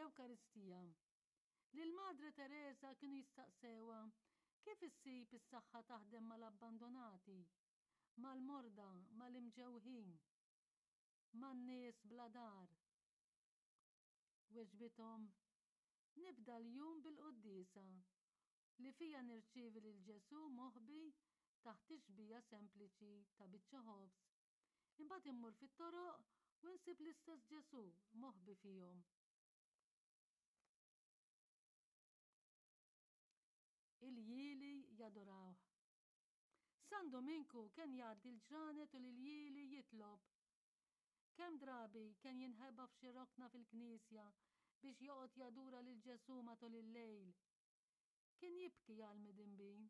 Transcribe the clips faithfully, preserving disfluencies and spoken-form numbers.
L-Ewkaristija. Lil Madre Teresa kienu jistaqsewha kif issib is-saħħa taħdem mal-abbandonati, mal-morda, mal-imġewħin, man-nies bla dar. Weġbithom, nibda l-jum bil-quddiesa li fija nirċievi lil Ġesù moħbi taħt ix-xbieha sempliċi ta' biċċa ħobż. Imbagħad immur fit-toroq u nsib l-istess Ġesù moħbi fihom. Iljieli jadurawh. San Dominku kien jgħaddi l-ġranet u l-iljieli jitlob. Kemm drabi kien jinħeba f'xi rokna fil-knisja biex joqgħod jadura lil Ġesù matul il-lejl. Kien jibki għal midinbin,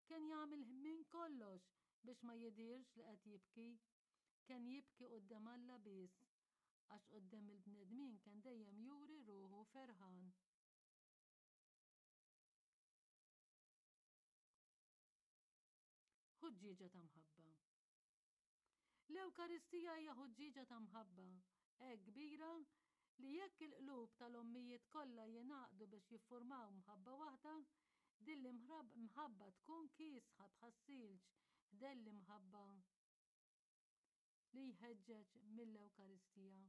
kien jagħmel minn kollox biex ma jidhirx li qed jibki. Kien jibki quddiem Alla biss, għax quddiem il-bnedmin kien dejjem juri ruħu ferħan. Ħuġġieġa ta' mħabba. L-Ewkaristija hija ħuġġieġa ta' mħabba hekk kbira li jekk il-qlub tal-ommijiet kollha jingħaqdu biex jiffurmaw mħabba waħda, din l-imħabba tkun kiesħa bħas-silġ ħdejn l-imħabba li jħeġġeġ mill-Ewkaristija.